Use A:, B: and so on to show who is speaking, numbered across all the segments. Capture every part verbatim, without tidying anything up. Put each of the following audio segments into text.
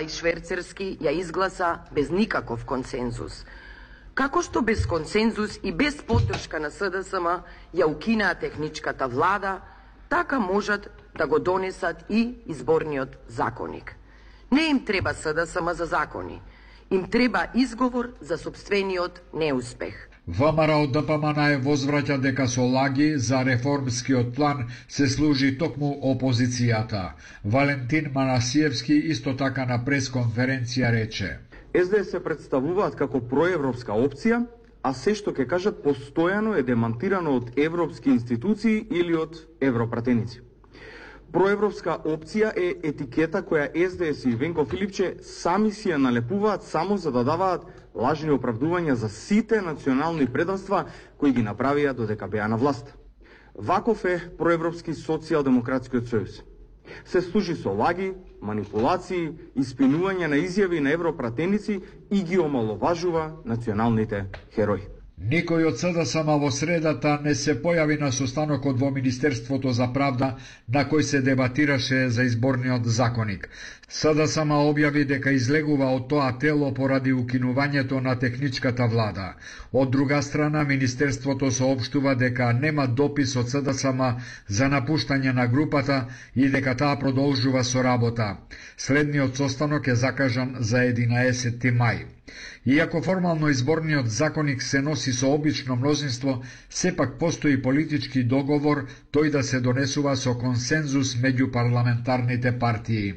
A: и шверцерски ја изгласа без никаков консензус. Како што без консензус и без поддршка на С Д С М ја укинаа техничката влада, така можат да го донесат и изборниот законик. Не им треба С Д С М за закони, им треба изговор за собствениот неуспех.
B: ВМРО Д П М Н е возвраќа дека со лаги за реформскиот план се служи токму опозицијата. Валентин Манасиевски исто така на пресконференција рече:
C: С Д С се представуваат како проевропска опција, а се што ќе кажат постојано е демантирано од европски институции или од европратеници. Проевропска опција е етикета која С Д С и Венко Филипче сами си ја налепуваат само за да даваат лажни оправдувања за сите национални предавства кои ги направија додека беа на власт. Ваков е проевропски социјалдемократскиот сојуз. Се служи со лаги, манипулации, испинување на изјави на европратеници и ги омаловажува националните херои.
B: Никој од С Д С М во средата не се појави на состанокот во Министерството за правда на кој се дебатираше за изборниот законик. С Д С М објави дека излегува од тоа тело поради укинувањето на техничката влада. Од друга страна, Министерството соопштува дека нема допис од С Д С М за напуштање на групата и дека таа продолжува со работа. Следниот состанок е закажан за единаесети мај. Иако формално изборниот законик се носи со обично мнозинство, сепак постои политички договор тој да се донесува со консензус меѓу парламентарните партии.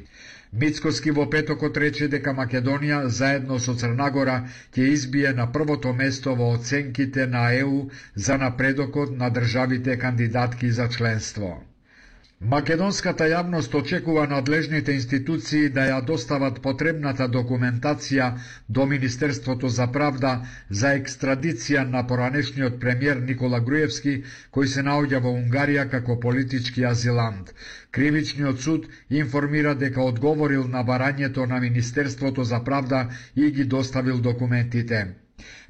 B: Мицкоски во петокот рече дека Македонија заедно со Црнагора ќе избие на првото место во оценките на Е У за напредокот на државите кандидатки за членство. Македонската јавност очекува надлежните институции да ја достават потребната документација до Министерството за правда за екстрадиција на поранешниот премиер Никола Груевски, кој се наоѓа во Унгарија како политички азилант. Кривичниот суд информира дека одговорил на барањето на Министерството за правда и ги доставил документите.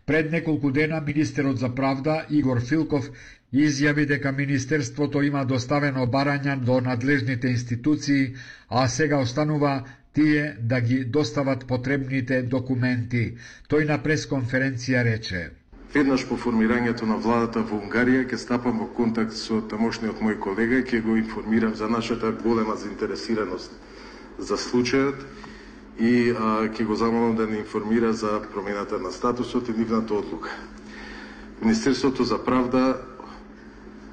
B: Пред неколку дена министерот за правда Игор Филков изјави дека Министерството има доставено барања до надлежните институции, а сега останува тие да ги достават потребните документи. Тој на пресконференција рече:
D: Веднаш по формирањето на владата во Унгарија ќе стапам во контакт со тамошниот мој колега и ќе го информирам за нашата голема заинтересираност за случајот и а, ќе го замолам да не информира за промената на статусот и нивната одлука. Министерството за правда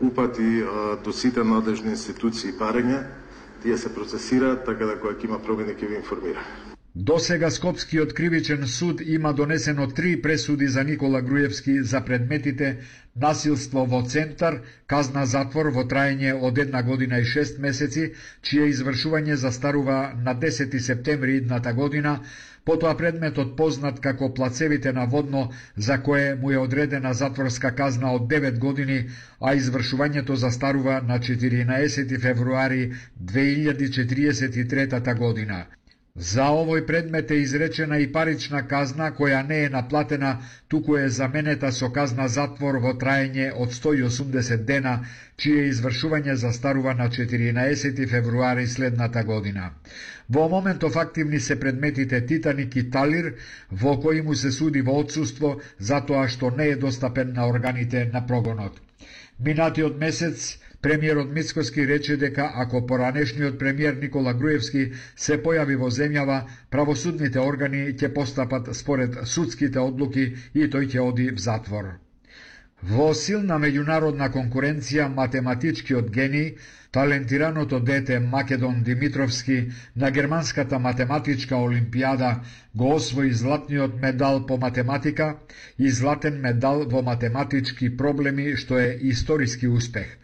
D: упати а, до сите надлежни институции барања, тие се процесираат, така да кога ќе има промени ќе ви информира.
B: До сега Скопскиот кривичен суд има донесено три пресуди за Никола Груевски за предметите насилство во центар, казна затвор во траење од една година и шест месеци, чие извршување застарува на десети септември идната година, потоа предметот познат како плацевите на Водно, за кое му е одредена затворска казна од девет години, а извршувањето застарува на четиринаесети февруари две илјади четириесет и трета година. За овој предмет е изречена и парична казна која не е наплатена, туку е заменета со казна затвор во траење од сто и осумдесет дена, чие извршување застарува на четиринаесети февруари следната година. Во моментов активни се предметите Титаник и Талир, во кои му се суди во отсуство затоа што не е достапен на органите на прогонот. Минатиот месец премиерот Мицкоски рече дека ако поранешниот премиер Никола Груевски се појави во земјава, правосудните органи ќе постапат според судските одлуки и тој ќе оди в затвор. Во силна меѓународна конкуренција, математичкиот гений, талентираното дете Македон Димитровски на германската математичка олимпијада го освои златниот медал по математика и златен медал во математички проблеми, што е историски успех.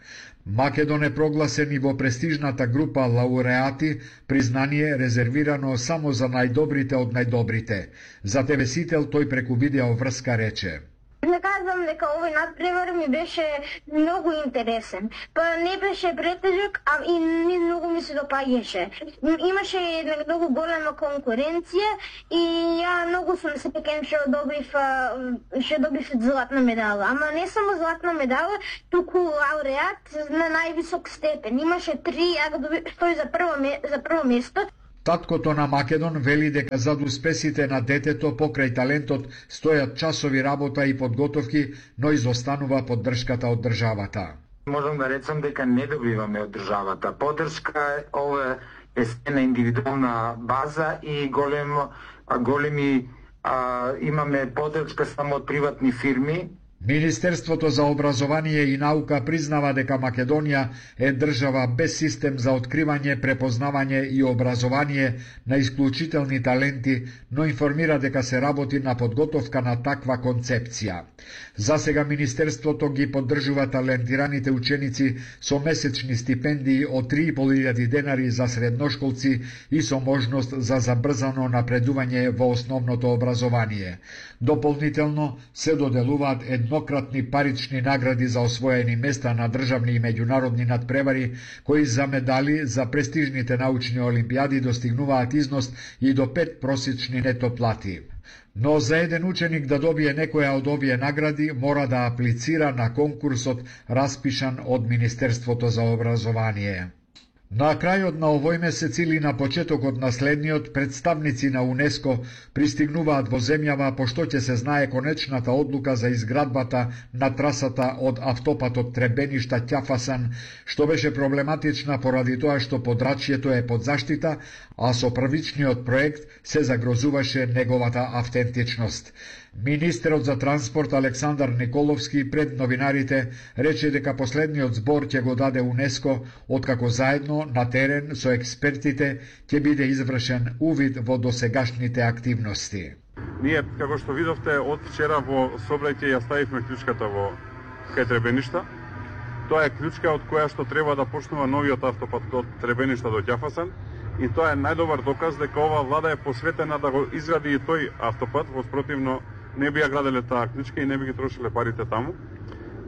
B: Македон е прогласен и во престижната група лауреати, признание резервирано само за најдобрите од најдобрите. За Те Ве Сител тој преку видео врска рече:
E: Не казвам дека овој надпревар ми беше многу интересен. Па не беше претежок, а и не многу ми се допаѓаше. Имаше една многу голема конкуренција и ја многу сум среќен што добив што добив златна медала. Ама не само златна медала, туку лауреат на највисок степен. Имаше три, ја го добив тој за прво за прво место.
B: Таткото на Македон вели дека зад успесите на детето покрај талентот стојат часови работа и подготовки, но изостанува поддршката од државата.
F: Можам да речам дека не добиваме од државата поддршка, ова е на индивидуална база и голем, големи а, имаме поддршка само од приватни фирми.
B: Министерството за образование и наука признава дека Македонија е држава без систем за откривање, препознавање и образование на исклучителни таленти, но информира дека се работи на подготовка на таква концепција. За сега Министерството ги поддржува талентираните ученици со месечни стипендии од три и пол илјади денари за средношколци и со можност за забрзано напредување во основното образование. Дополнително се доделуваат еднократни парични награди за освоени места на државни и меѓународни надпревари, кои за медали за престижните научни олимпијади достигнуваат износ и до пет просечни нето плати. Но за еден ученик да добие некоја од овие награди, мора да аплицира на конкурсот распишан од Министерството за образование. На крајот на овој месец или на почетокот на следниот, представници на УНЕСКО пристигнуваат во земјава, пошто ќе се знае конечната одлука за изградбата на трасата од автопатот Требеништа-Ќафасан, што беше проблематична поради тоа што подрачјето е под заштита, а со првичниот проект се загрозуваше неговата автентичност. Министерот за транспорт Александар Николовски пред новинарите рече дека последниот збор ќе го даде УНЕСКО, откако заедно на терен со експертите ќе биде извршен увид во досегашните активности.
G: Ние, како што видовте, од вчера во сообраќај ја ставивме клучката во кај Требеништа. Тоа е клучка од која што треба да почнува новиот автопат од Требеништа до Ќафасан. И тоа е најдобар доказ дека ова влада е посветена да го изгради и тој автопат, во спротивно не би ја граделе таа клучка и не би ги трошиле парите таму.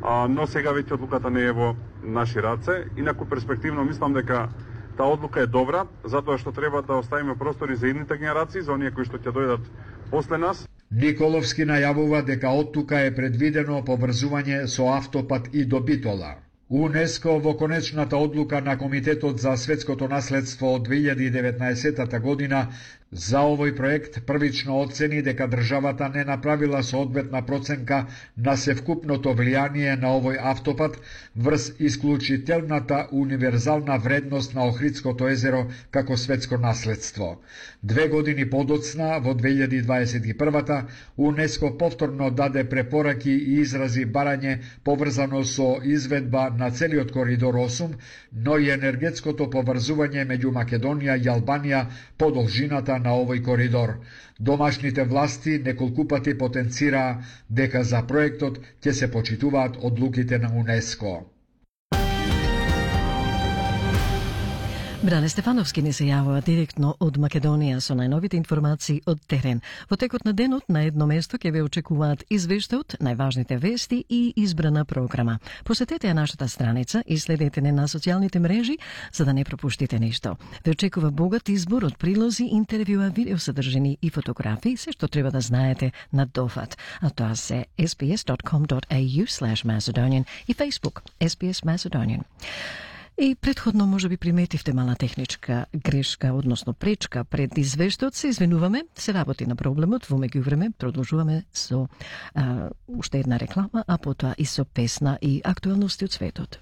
G: А, но сега веќе одлуката не е во наши раце. Инаку перспективно мислам дека таа одлука е добра, затоа што треба да оставиме простори за идните генерации, за оние кои што ќе дојдат после нас.
B: Николовски најавува дека оттука е предвидено поврзување со автопат и до Битола. УНЕСКО во конечната одлука на Комитетот за светското наследство од две илјади и деветнаесетта година за овој проект првично оцени дека државата не направила соодветна проценка на севкупното влијание на овој автопат врз исклучителната универзална вредност на Охридското езеро како светско наследство. Две години подоцна, во две илјади дваесет и прва, УНЕСКО повторно даде препораки и изрази барање поврзано со изведба на целиот коридор осум, но и енергетското поврзување меѓу Македонија и Албанија по должината на овој коридор. Домашните власти неколку пати потенцираа дека за проектот ќе се почитуваат одлуките на УНЕСКО.
H: Бране Стефановски ни се јавува директно од Македонија со најновите информации од терен. Во текот на денот на едно место ќе ве очекуваат извештајот, најважните вести и избрана програма. Посетете ја нашата страница и следете не на социјалните мрежи за да не пропуштите ништо. Ве очекува богат избор од прилози, интервјуа, видеосодржини и фотографии, се што треба да знаете на дофат. А тоа се ес би ес точка ком точка ей ю слеш Macedonian и Facebook ес би ес Macedonian. И предходно може би приметивте мала техничка грешка, односно пречка пред извештајот, се извинуваме, се работи на проблемот, во меѓувреме продолжуваме со а, уште една реклама, а потоа и со песна и актуелности од светот.